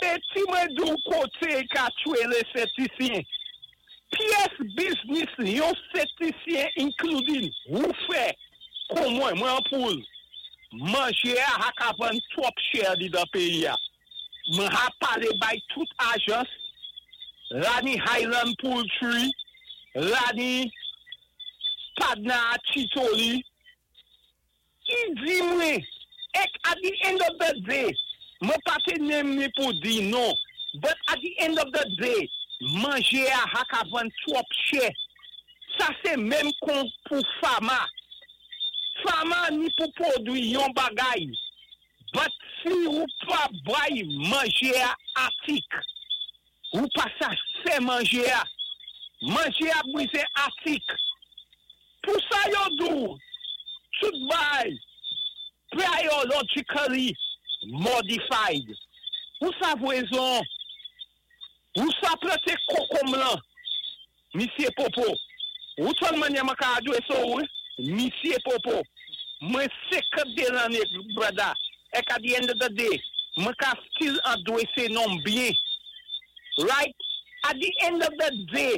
Enben, ti mwen di ou koté ka twélé Sentisyen. Pyès biznis yon Sentisyen, including ou fè, kon mwen, mwen an poul. Manjé a ha ka vann twòp chè di dan péyi-a. Mwen ha palé bay tout ajans, la ni Highland Poultry, la ni Padna Chitoli, ki di mwen, ek at the end of the day, mwen pa té nem ni pou di non, but at the end of the day, manjé a ha ka vann twòp chè. Sa sé menm kon pou farmer. Farmer ni pou pwodwi yon bagay, but si ou pa bay manjé a atik, ou pa sa fè manjé a, manjé a bwizé atik. Pou sa yo di ou, tout bay, biologically modified. Ou sa vwezon, ou sa plante kokonm lan, Misyé Popo. Ou ton manye mwen ka adwé so ou, Misyé Popo. Mwen 52 lanné, brother. Ek at the end of the day, mwen ka still adwésé nonm byen. Right? At the end of the day,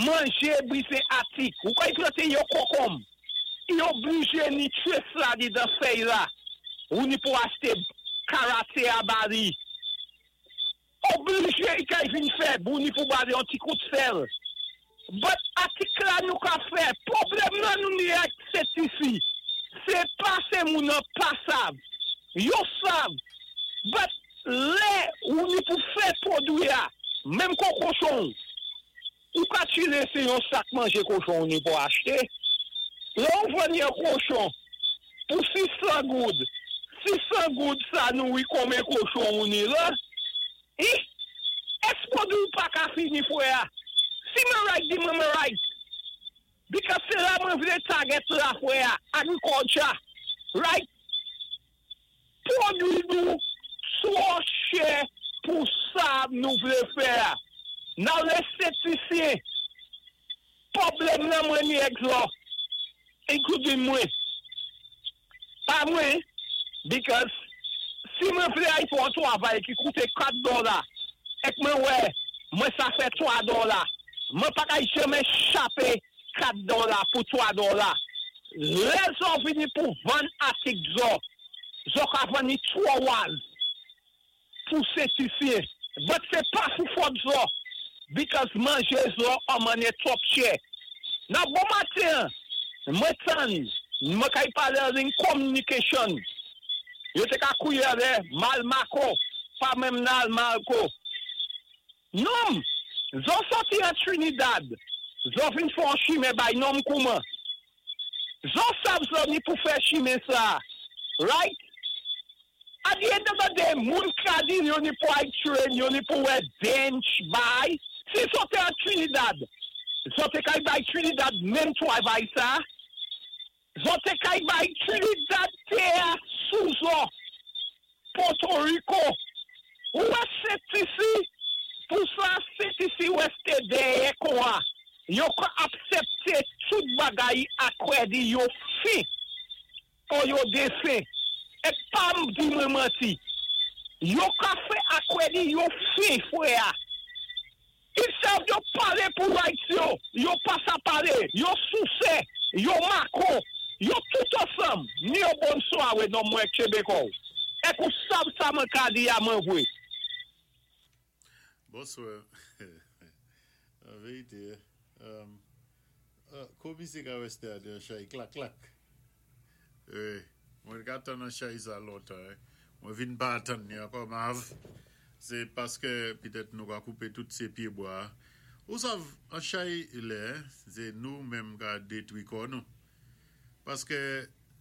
manjé bwizé atik. Ou ka y plante yo kokonm, yo oblijé ni trace la di dan fèy la. Ou ni pou achté karate a bali. Oblijé i kay vin fèb, ou ni pou bali yon ti kout sèl. But atik la nou ka fè, pwoblèm nan nou ni ak Sentisi. Se pa sé moun nan pa sav. Yo sav. But lè ou ni pou fè pwodwi a, menm kon kochon, ou ka tire sé yon sak manjé kochon ou ni pou achté. Lè ou vann yon kochon pou 600 goud, 600 goud sa nou wi konmen kochon ou ni la? I, ès pwodwi ou pa ka fini fwè a? Si mwen right, di mwen mwen right. Because sé la mwen vlé target la fwè a, agriculture. Right? Pwodwi nou twò chè pou sa nou vlé fè a. Nan lè Sentisyen, pwoblèm nan mwen ni ek zo, including mwen. Pa mwen, because si mwen vlé ay pou an travay ki kouté 4 dola, ek mwen wè, mwen sa fè 3 dola, mwen pa kay janmen chapé 4 dola pou 3 dola. Lè zo vini pou vann atik zo, zo ka vann ni 3 waz pou Sentisyen. But sé pa sou fòt zo, because manjé zo an manyè twòp chè. Nan bon maten, mwen tann, mwen kay palé an communication. Yo té ka kouye lè, mal mako, pa menm nal malko. Nonm, zo soti an Trinidad, zo vin fè chimen bay nonm kouman. Zo sav zo ni pou fè chimen sa. Right? At the end of the day, moun ka di yo ni pou ay train, yo ni pou wè bench bay. Si zo té an Trinidad, zo té kay bay Trinidad menm travay sa, zo té kay bay Trinidad té a sou zo. Puerto Rico. Ou wè Sentisi, pou sa Sentisi wè dèyè kwa. Yo ka aksepté tout bagay akwè di yo fi ou yo défin. É pa m di mwen manti. Yo ka fè akwè di yo fi fwè a. Instead yo palé pou rights yo, yo pa sa palé, yo sousé, yo mako, yo tout ansanm, ni yo bon swa non mwen Québécois. Ek ou sav sa mwen ka di a mwen vwé. Bonswa. An vérité, komisé ka weste a de chay klak klak. Mwen ka tann an chay sa lontan. Mwen vin pa atann ni ankò mav. Sé paské pitèt nou ka koupé tout sé pyébwa. Ou sav, an chay lè, sé nou menm ka détwi kò nou. Paské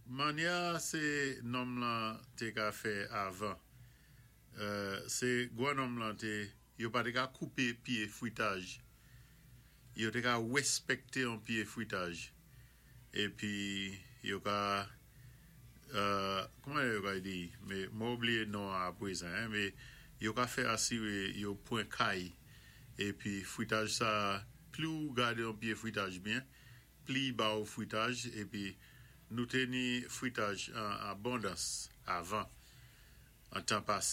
manyè sé nonm lan té ka fè avan. Sé gwan nonm lan té, yo pa té ka koupé pyé fwitaj. Yo té ka wèspèkté an pyé fwitaj. Épi yo ka, kouman yo ka di, mé mwen oubliyé non a pwézan, mé yo ka fè asiré yo pwan kay. Épi fwitaj sa, pli ou gadé an pyé fwitaj byen, pli ba ou fwitaj, épi nou té ni fwitaj an abondans avan, an tan pasé.